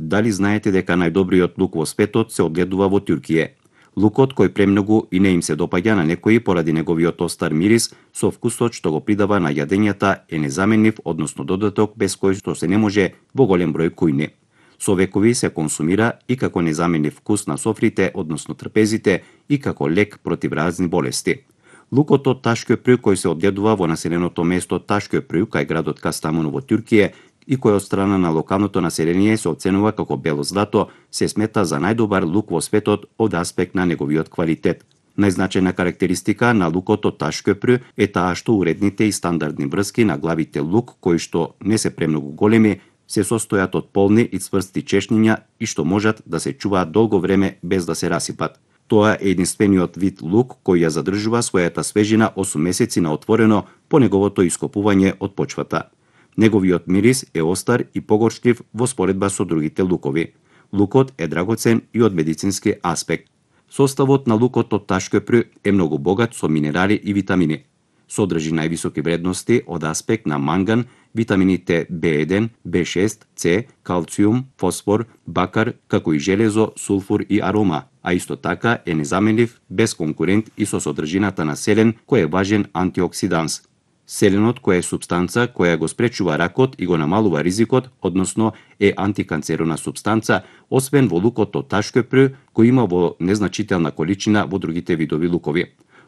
дали знаете дека најдобриот лук во светот се одгледува во Туркија? Лукот кој премногу и не им се допаѓа на некои поради неговиот остар мирис, со вкусот што го придава на јадењата е незаменлив, односно додаток без кој што се не може во голем број кујни. Со векови се консумира и како незаменлив вкус на софрите, односно трпезите, и како лек против разни болести. Лукот од Ташкөпрү кој се одгледува во населеното место Ташкөпрү кај градот Кастамону во Туркија и кој од страна на локалното население се оценува како бело злато, се смета за најдобар лук во светот од аспект на неговиот квалитет. Најзначајна карактеристика на лукот од Ташкөпрү е таа што уредните и стандардни врски на главите лук, кои што не се премногу големи, се состојат од полни и цврсти чешниња и што можат да се чуваат долго време без да се расипат. Тоа е единствениот вид лук кој ја задржува својата свежина 8 месеци на отворено по неговото ископување од почвата. Неговиот мирис е остар и погорчлив во споредба со другите лукови. Лукот е драгоцен и од медицински аспект. Составот на лукот од Ташкөпрү е многу богат со минерали и витамини. Содржи највисоки вредности од аспект на манган, витамините B1, B6, C, калциум, фосфор, бакар, како и железо, сулфур и арома, а исто така е незаменлив, без конкурент и со содржината на селен, кој е важен антиоксиданс. Селенот кој е супстанца која го спречува ракот и го намалува ризикот, односно е антиканцерона супстанца, освен во лукот од Ташкөпрү, кој има во незначителна количина во другите видови лукови.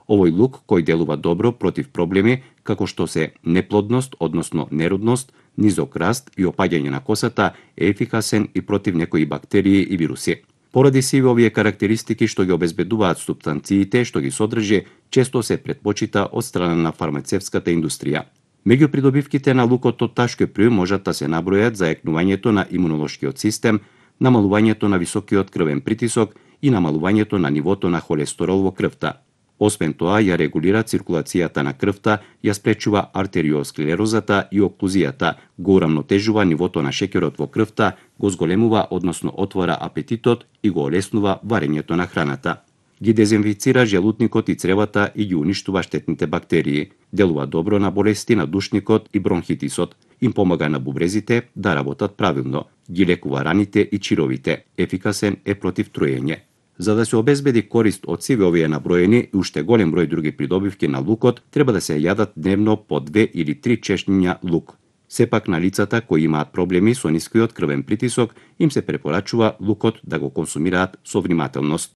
Овој лук кој делува добро против проблеми како што се неплодност, односно неродност, низок раст и опаѓање на косата, е ефикасен и против некои бактерии и вируси. Поради сиве овие карактеристики што ги обезбедуваат супстанциите што ги содржи, често се претпочита од страна на фармацевската индустрија. Меѓу придобивките на лукот од Ташкөпрү можат да се набројат зајакнувањето на имунолошкиот систем, намалувањето на високиот крвен притисок и намалувањето на нивото на холестерол во крвта. Освен тоа, ја регулира циркулацијата на крвта, ја спречува артериосклерозата и оклузијата, го урамнотежува нивото на шеќерот во крвта, го зголемува, односно отвора апетитот и го олеснува варењето на храната. Ги дезинфицира желутникот и цревата и ги уништува штетните бактерии. Делува добро на болести на душникот и бронхитисот. Им помага на бубрезите да работат правилно. Ги лекува раните и чировите. Ефикасен е против труење. За да се обезбеди корист од сиве овие наброени и уште голем број други придобивки на лукот, треба да се јадат дневно по 2 или 3 чешниња лук. Сепак на лицата кои имаат проблеми со нискиот крвен притисок, им се препорачува лукот да го консумираат со внимателност.